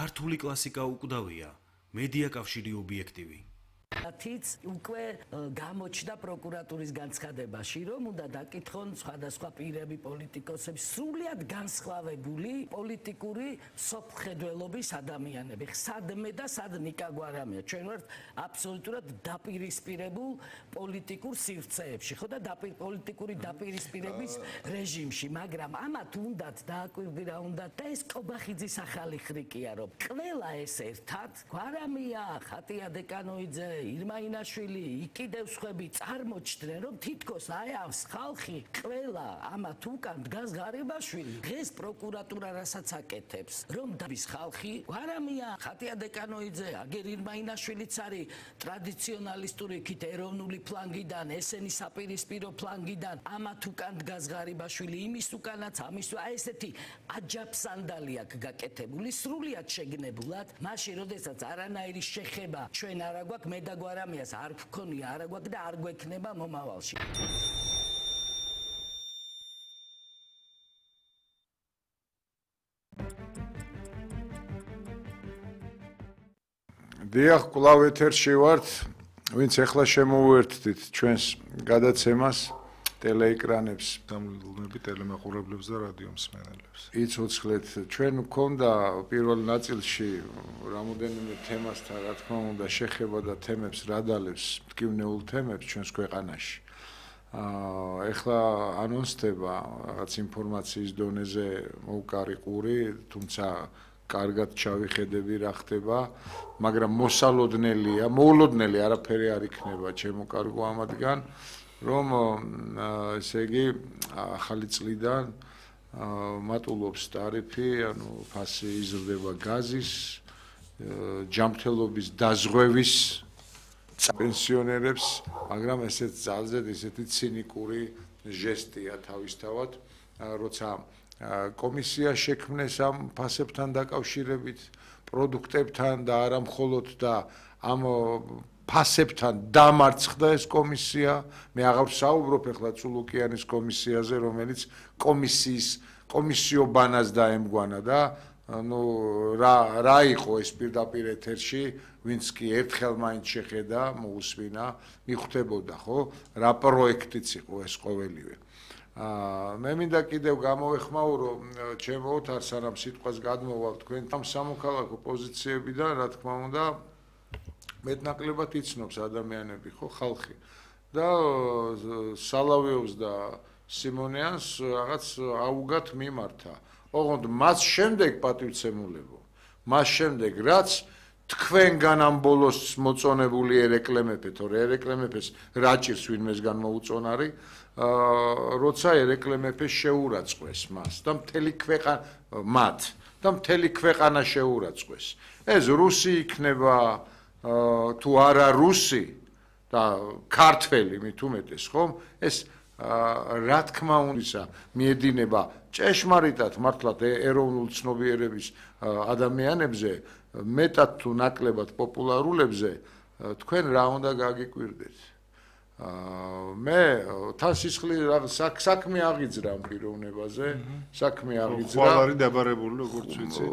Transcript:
ქართული კლასიკა უკვდავია, მედია კავშირი ობიექტივი. თიც უკვე გამოჩნდა პროკურატურის განცხადებაში, რომ უნდა დაკითხონ სხვადასხვა პირები, პოლიტიკოსები, სრულიად განსხვავებული პოლიტიკური სოფხედველობის ადამიანები. სადმე და სად ნიკა გვარამია. ჩვენ ვართ აბსოლუტურად დაპირისპირებულ პოლიტიკურ სივრცეებში, ხო და პოლიტიკური დაპირისპირების რეჟიმში, მაგრამ ამათ უნდათ დააკვირდირა უნდათ და ეს კობახიძის ახალი ხრიკია, რომ ყველა ეს ერთად გვარამია, ხატია დეკანოიძე ირმაინაშვილი, იქიდევ სხვები წარმოჩდნენ, რომ თითქოს აი ამს ხალხი ყველა ამათ უკან დგას ღარიბაშვილი. დღეს პროკურატურა რასაც აკეთებს, რომ დაბის ხალხი, გვარამია, ხატია დეკანოიძე, აგერ ირმაინაშვილიც არის ტრადიციონალისტური იქით ეროვნული ფლანგიდან, ესენი საპირისპირო ფლანგიდან, ამათ უკან დგას ღარიბაშვილი, იმის უკანაც, ამის აი ესეთი აჯაფსანდალი აქვს გაკეთებული, სრულიად შეგნებულად, მაშინ როდესაც არანაირი შეხება ჩვენ არა გვაქვს, მე და გვარამიას არ გქონია, არა გვაქვს და არ გვექნება მომავალში. დიახ, კვლავ ეთერში ვართ, ვინც ახლა შემოვუერთდით ჩვენს გადაცემას ტელეეკრანებს, დამლულნები ტელემაყურებლებს და რადიო მსმენელებს. იცოცხლეთ, ჩვენ გვქონდა პირველ ნაწილში რამოდენიმე თემასთან, რა თქმა უნდა, შეხება და თემებს რადალებს, მტკივნეულ თემებს ჩვენს ქვეყანაში. ეხლა ანონსდება რაღაც ინფორმაციის დონეზე მოუკარი ყური, თუმცა კარგად ჩავიხედები რა ხდება, მაგრამ მოულოდნელი არაფერი არ იქნება ჩემო კარგო ამადგან, რომ ესე იგი ახალი წლიდან მატულობს ტარიფი, ანუ ფასი იზრდება გაზის, ჯანმრთელობის დაზღვევის პენსიონერებს, მაგრამ ესეც ძალზედ ისეთი ცინიკური ჟესტია თავისთავად, როცა კომისია შექმნეს ამ ფასებთან დაკავშირებით, პროდუქტებთან და არა მხოლოდ და ამ ფასებთან დამარცხდა ეს კომისია. მე აღარ ვსაუბრობ ახლა წულუკიანის კომისიაზე, რომელიც კომისიობანას დაემგვანა და ну რა იყო ეს პირდაპირ ეთერში, ვინც კი ერთხელ მაინც შეხედა, მოусვინა, მიხვდებოდა, ხო? რა პროექტიც იყო ეს ყოველივე. მე მინდა კიდევ გამოვეხმაურო ჩემო ოთარ, სანამ სიტყვას გადმოვალ თქვენ ამ სამოქალაქო პოზიციებიდან, რა თქმა უნდა, მეტნაკლებად იცნობს ადამიანები, ხო, ხალხი. და სალავიოვს და სიმონიანს რაღაც აუგად მიმართა. ოღონდ მას შემდეგ პატივცემულებო, მას შემდეგ რაც თქვენგან ამ ბოლოს მოწონებული ერეკლემეფე, თორე ერეკლემეფეს რაჭირს ვინმესგან მოუწონარი, როცა ერეკლემეფე შეურაცხყვეს მას და მთელი ქვეყანა შეურაცხყვეს. ეს რუსი იქნება თუ არა რუსი და ქართველი მით უმეტეს, ხომ? ეს რა თქმა უნდა მიედინება ჭეშმარიტად მართლაც ეროვნულ ცნობიერების ადამიანებზე, მეტად თუ ნაკლებად პოპულარულებზე, თქვენ რა უნდა გაგიკვირდეთ? მე თან სისხლი საქმე აღიძრა ამ პიროვნებაზე, საქმე აღიძრა. ხვალ არის დაბარებული, როგორც ვიცი.